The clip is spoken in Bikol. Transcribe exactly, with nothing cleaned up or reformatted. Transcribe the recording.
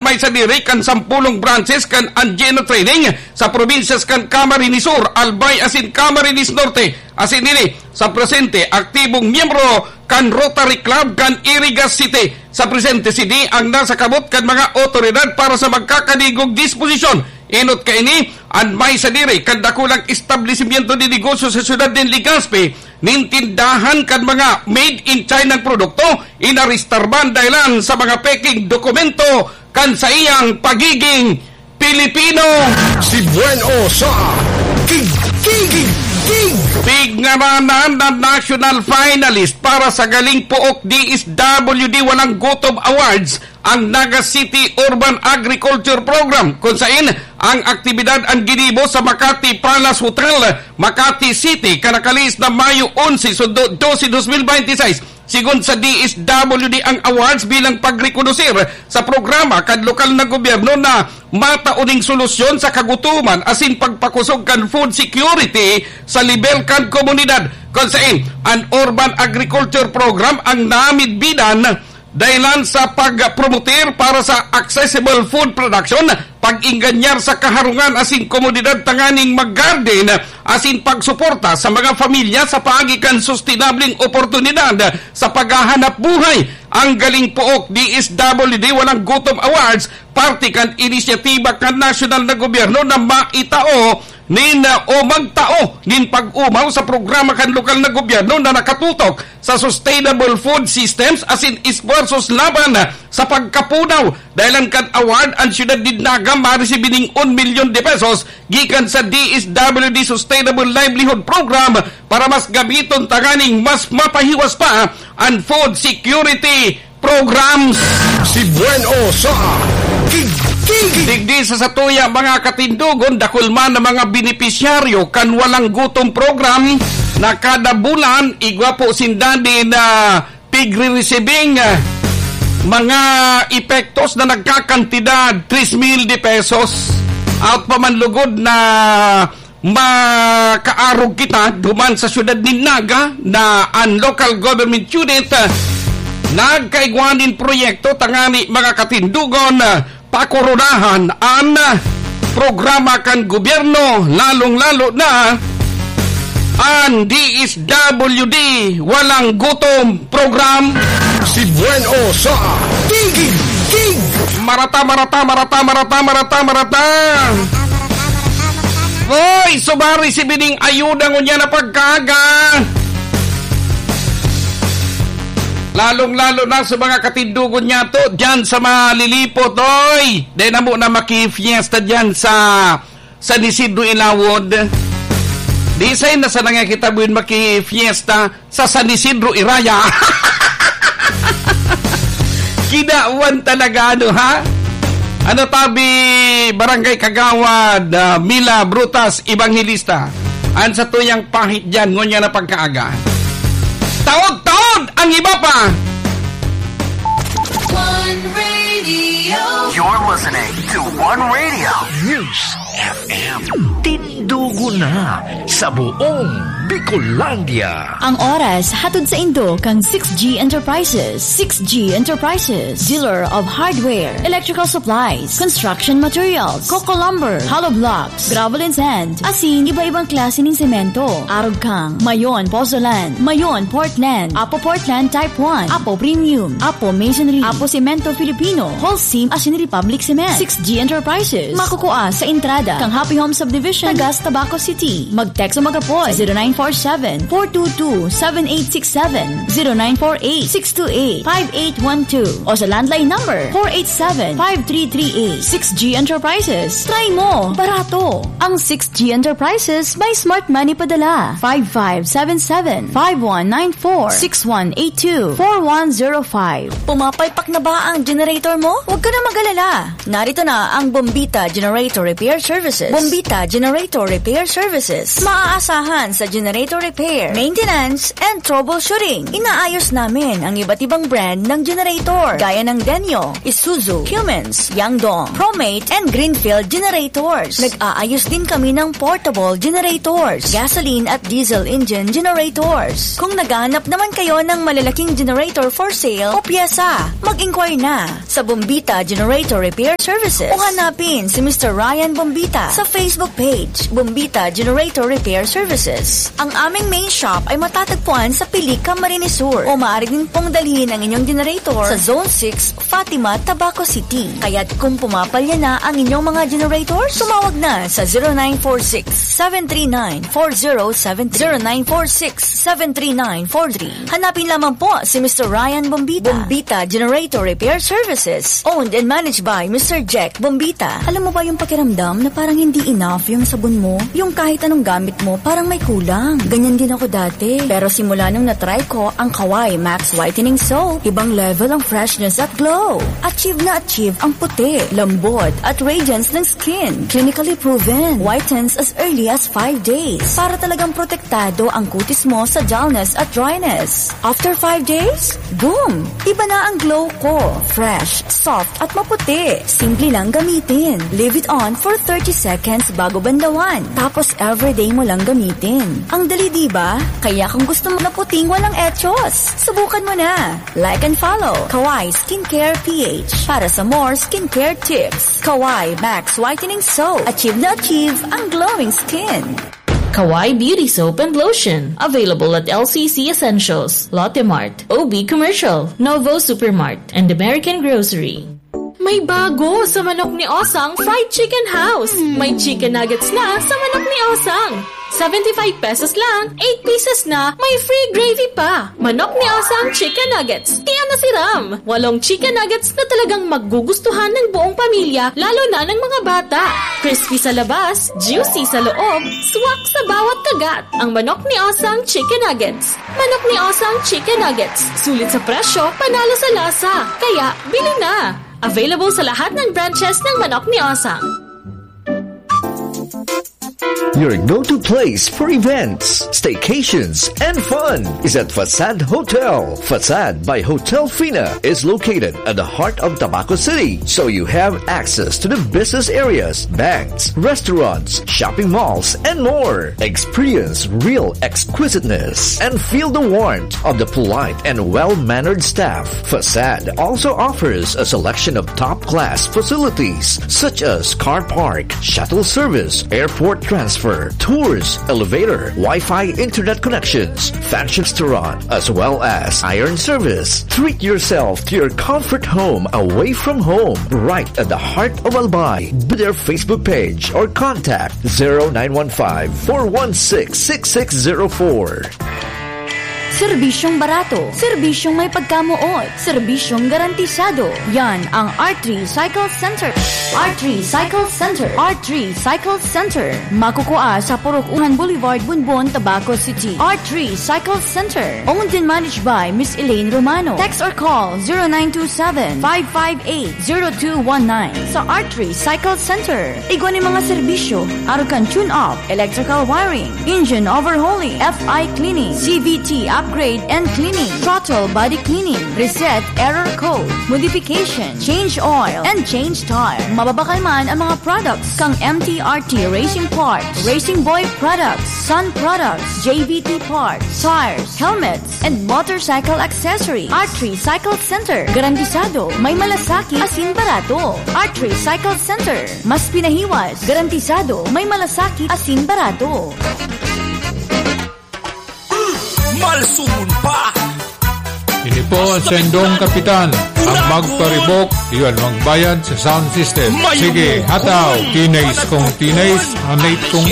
nagtagtay sadiri kan sampolong branches kan Anjeno Trading sa probinsyas kan Camarines Sur, Albay asin Camarines Norte. Asin ini sa presente, aktibong miyembro kan Rotary Club kan Irigas City. Sa presente, sini ang nasa kamot kan mga awtoridad para sa magkakadigog disposisyon. Enot kaini, an may sadiri kan dakulang establisimyento de negosyo sa siyudad nin Legazpi, nin tindahan kan mga made in China produkto, inarestar man dahelan sa mga peking dokumento kan saiyang pagiging Pilipino. Si Buen O sa Tig-, Tig-, Tig-, Pigngaranan na national finalist para sa Galing Pook D S W D Walang Gutom Awards ang Naga City Urban Agriculture Program, kun sain ang aktibidad an ginibo sa Makati Palace Hotel, Makati City, kan nakalihis na Mayo onse, sundo dose, dos mil bente y seis. Sigon sa D S W D ang awards bilang pagrekonosir sa programa kan lokal na gobyerno na matao ning solusyon sa kagutoman asin pagpakosog kan food security sa lebel kan komunidad. Kun sain, an Urban Agriculture Program ang namidbidan dahilan sa pagpromoter para sa accessible food production, pag-ingganyar sa kaharungan asin komodidad tanganing mag-garden, asin pagsuporta sa mga pamilya sa paagi kan sustenableng oportunidad sa paghahanap buhay. Ang Galing Pook D S W D Walang Gutom Awards, parte kan inisyatiba kan nasyonal na gobyerno na maitao nin, o magtao nin pag-omaw sa programa kan lokal na gobyerno na nakatutok sa sustainable food systems asin esfuerzos laban sa pagkapunaw. Dahelan kan award, an siyudad nin Naga maresibi nin un milyon de pesos gikan sa D S W D Sustainable Livelihood Program para mas gamiton tanganing mas mapahiwas pa an food security programs. Si Buen O sa Tig-, Tig-, Digdi sa satuya, mga katindogon, dakul man ang mga benepisyaryo kan Walang Gutom Program na kada bulan, igwa po sinda nin, ah, pigre-receiving, ah, mga epektos na nagkakantidad tres mil de pesos. Out pa man lugod na makaarog kita duman sa siyudad nin Naga na an local government unit, ah, nagkaigwa nin proyekto tangani mga katindogon, ah, pakoronahan an programa kan gobyerno, lalong-lalo na an D S W D Walang Gutom Program. Si Buen O sa Tig-, Tig-. Marata, marata, marata, marata, marata, marata. Hoy, subari si bining ayuda ngunyan na pagkaaga. Lalong-lalo na sa mga katindogon niyato diyan sa Malilipot, oy! Dai na mo na makifiesta diyan sa San Isidro Ilawod. Di say na sana nga kita buin makifiesta sa San Isidro Iraya. Kinawan talaga, ano, ha? Ano tabi, Barangay Kagawad, ah, Mila Brutas Evangelista? An satuyang pahit diyan, ngunyan na pagkaaga. Taod-taod ang iba pa. One Radio. You're listening to One Radio. News F M. Tindugo na sa buong Bicolandia. Ang oras hatod sa indo kan six G Enterprises. Six G Enterprises, dealer of hardware, electrical supplies, construction materials, coco lumber, hollow blocks, gravel and sand, asin iba-ibang klase nin semento. Arog kang Mayon Pozzolan, Mayon Portland, Apo Portland Type one, Apo Premium, Apo Masonry, Apo Semento Filipino, Holcim asin Republic Cement. Six G Enterprises, makukua sa entrada kan Happy Home Subdivision, Tagas, Tabaco City. Mag-text o mag-apod sa zero nine four seven, four two two, seven eight six seven, zero nine four eight, six two eight, five eight one two, o sa landline number four eight seven, five three three eight. Six G Enterprises. Try mo! Barato! Ang Six G Enterprises may smart money padala. Five five seven seven, five one nine four, six one eight two, four one zero five. Pumapalpak na ba ang generator mo? Huwag ka na mag-alala. Narito na ang Bombita Generator Repair Services. Bombita Generator Repair Services. Maaasahan sa generator generator repair, maintenance, and troubleshooting. Inaayos namin ang iba't ibang brand ng generator, gaya ng Denyo, Isuzu, Cummins, Yangdong, Promate, and Greenfield generators. Nag-aayos din kami ng portable generators, gasoline at diesel engine generators. Kung naghahanap naman kayo ng malalaking generator for sale o pyesa, mag-inquire na sa Bombita Generator Repair Services o hanapin si Mister Ryan Bombita sa Facebook page, Bombita Generator Repair Services. Ang aming main shop ay matatagpuan sa Pilica, Marinesur, o maaari din pong dalhin ang inyong generator sa Zone six, Fatima, Tabaco City. Kaya't kung pumapalya na ang inyong mga generator, tumawag na sa zero nine four six, seven three nine, four zero seven three, zero nine four six, seven three nine, four three. Hanapin lamang po si Mister Ryan Bombita. Bombita Generator Repair Services. Owned and managed by Mister Jack Bombita. Alam mo ba yung pakiramdam na parang hindi enough yung sabon mo? Yung kahit anong gamit mo, parang may kulang. Ganyan din ako dati. Pero simula nung na-try ko ang Kawai Max Whitening Soap, ibang level ang freshness at glow. Achieve na achieve ang puti, lambot, at radiance ng skin. Clinically proven. Whitens as early as five days. Para talagang protektado ang kutis mo sa dullness at dryness. After five days, boom! Iba na ang glow ko. Fresh, soft, at maputi. Simple lang gamitin. Leave it on for thirty seconds bago bandawan. Tapos everyday mo lang gamitin. Ang dali, di ba? Kaya kung gusto mo na puting walang echos, subukan mo na. Like and follow Kawai Skincare P H para sa more skincare tips. Kawai Max Whitening Soap. Achieve na achieve ang glowing skin. Kawai Beauty Soap and Lotion. Available at L C C Essentials, Lotte Mart, O B Commercial, Novo Supermart, and American Grocery. May bago sa Manok ni Osang Fried Chicken House. May chicken nuggets na sa Manok ni Osang. Seventy-five pesos lang, eight pieces na, may free gravy pa. Manok ni Osang Chicken Nuggets. Kaya nasiram! Walong chicken nuggets na talagang magugustuhan ng buong pamilya, lalo na ng mga bata. Crispy sa labas, juicy sa loob, swak sa bawat kagat. Ang Manok ni Osang Chicken Nuggets. Manok ni Osang Chicken Nuggets. Sulit sa presyo, panalo sa lasa. Kaya, bili na! Available sa lahat ng branches ng Manok ni Osang. Your go-to place for events, staycations, and fun is at Facade Hotel. Facade by Hotel Fina is located at the heart of Tabaco City, so you have access to the business areas, banks, restaurants, shopping malls, and more. Experience real exquisiteness and feel the warmth of the polite and well-mannered staff. Facade also offers a selection of top-class facilities such as car park, shuttle service, airport transfer, tours, elevator, Wi-Fi internet connections, fancy restaurant, as well as iron service. Treat yourself to your comfort home away from home, right at the heart of Albay. Be their Facebook page or contact zero nine one five, four one six, six six zero four. Serbisyong barato, serbisyong may pagkamoot, serbisyong garantisado. Yan ang R three Cycle Center. R three Cycle Center. R three Cycle Center. Makukua sa Purok Uhan Boulevard, Bonbon, Tabaco City. R three Cycle Center. Owned and managed by Miss Elaine Romano. Text or call zero nine two seven, five five eight, zero two one nine. Sa R three Cycle Center, igwa nin mga serbisyo, arog kan tune-up, electrical wiring, engine overhauling, F I cleaning, C V T upgrade and cleaning, throttle body cleaning, reset error code, modification, change oil, and change tire. Mababakal man ang mga products kang M T R T Racing Parts, Racing Boy Products, Sun Products, J V T Parts, tires, helmets, and motorcycle accessories. R three Cycle Center. Garantisado, may malasakit, asin barato. R three Cycle Center. Mas pinahiwas. Garantisado, may malasakit, asin barato. Malsumon pa! Ini po ang sendong kapitan. Ang magparibok, iyan magbayad sa sound system. Sige, hataw, tinays kong tinays, anit kong